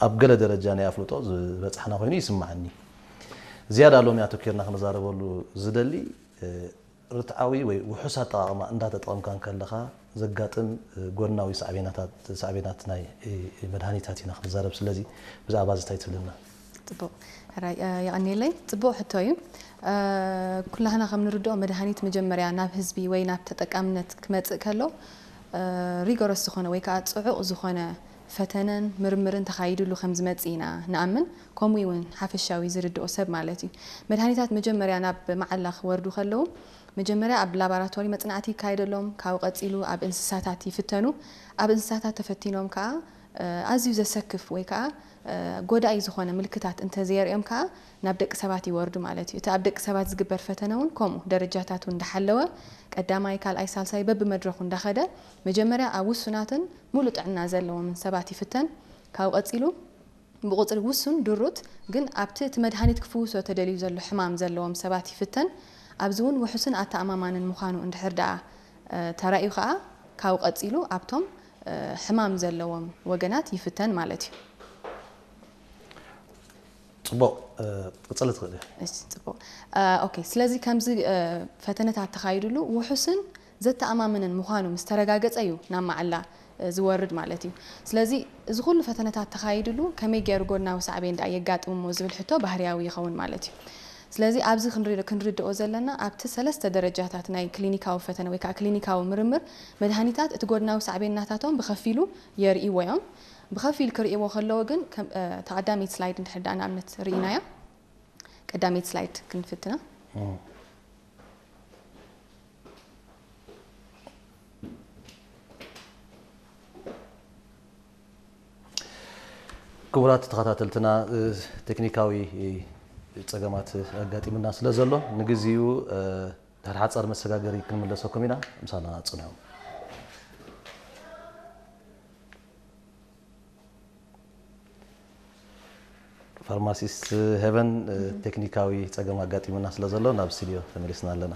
ኣብ ገለ ደረጃ ናይ ኣፍልጦ ዝበጻሕና ኮይኑ ይስምዓኒ። ዝያዳ ሎሚ ኣተኪርና ክንዛረበሉ ዝደሊ ርትዓዊ ወይ ውሑስ ኣጠቓቕማ እንዳተጠቐምካ እንከለኻ ዘጋጥም ጎድናዊ ሳዕቤናት ናይ መድሃኒታት ኢና ክንዛረብ። ስለዚ ብዛዕባ እዚ እንታይ ትብለና? ጽቡቕ ሕራይ የቐንየለይ። ጽቡቕ ሕቶ እዩ። ኩላህና ከም ንርድኦ መድሃኒት መጀመርያ ናብ ህዝቢ ወይ ናብ ተጠቃምነት ክመጽእ ከሎ ሪጎረስ ዝኾነ ወይ ከዓ ጽዑቕ ዝኾነ ፈተነን ምርምርን ተኻይድሉ ከም ዝመጽእ ኢና ንኣምን። ከምኡ እውን ሓፈሻዊ ዝርድኦ ሰብ ማለት እዩ። መድሃኒታት መጀመርያ ናብ መዓላ ክወርዱ ከለዉ መጀመርያ ኣብ ላባራቶሪ መጽናዕቲ ይካየደሎም፣ ካብኡ ቀጺሉ ኣብ እንስሳታት ይፍተኑ። ኣብ እንስሳታት ተፈቲኖም ከዓ ኣዝዩ ዘሰክፍ ወይ ከዓ ጎዳኢ ዝኾነ ምልክታት እንተዘየርእዮም ከዓ ናብ ደቂ ሰባት ይወርዱ ማለት እዩ። እቲ ኣብ ደቂ ሰባት ዝግበር ፈተነ እውን ከምኡ ደረጃታቱ እንዳሓለወ ቀዳማይ፣ ካልኣይ፣ ሳልሳይ በብመድረኹ እንዳኸደ መጀመርያ ኣብ ውሱናትን ሙሉእ ጥዕና ዘለዎምን ሰባት ይፍተን። ካብኡ ቀጺሉ ብቁጽሪ ውሱን ድሩት ግን ኣብቲ እቲ መድሃኒት ክፍውሶ ተደልዩ ዘሎ ሕማም ዘለዎም ሰባት ይፍተን። ኣብዚ እውን ውሑስን ኣተኣማማንን ምዃኑ እንድሕር ደኣ ተራእዩ ከዓ ካብኡ ቀጺሉ ኣብቶም ሕማም ዘለዎም ወገናት ይፍተን ማለት እዩ። ጽቡቕ፣ ክትቅጽሊ ትኽእሊ። እሺ፣ ጽቡቕ። ኦኬ፣ ስለዚ ከምዚ ፈተነታት ተኻይድሉ ውሑስን ዘተኣማምንን ምዃኑ ምስ ተረጋገጸ እዩ ናብ መዓላ ዝወርድ ማለት እዩ። ስለዚ እዚ ኩሉ ፈተነታት ተኻይድሉ ከመይ ገይሩ ጎድናዊ ሳዕቤን ደኣ የጋጥም እሞ ዝብል ሕቶ ባህርያዊ ይኸውን ማለት እዩ። ስለዚ ኣብዚ ክንርድኦ ዘለና ኣብቲ ሰለስተ ደረጃታት ናይ ክሊኒካዊ ፈተነ ወይ ከዓ ክሊኒካዊ ምርምር መድሃኒታት እቲ ጎድናዊ ሳዕቤን ናታቶም ብኸፊሉ የርእይዎ እዮም። ብኸፊል ክርእይዎ ከለዎ ግን ተቐዳመይቲ ስላይድ እንድሕር ደኣ ንኣብነት ርኢናያ። ቀዳመይቲ ስላይድ ክንፍትና። ክቡራት ተኸታተልትና፣ ቴክኒካዊ ጸገማት ኣጋጢሙና ስለ ዘሎ ንግዚኡ ድሕሪ ሓጻር መሰጋገሪ ክንምለሰኩም ኢና። ምሳና ጽንሑ። ፋርማሲስት ሄቨን፣ ቴክኒካዊ ጸገም ኣጋጢሙና ስለ ዘሎ ናብ ስቱድዮ ተመሊስና ኣለና።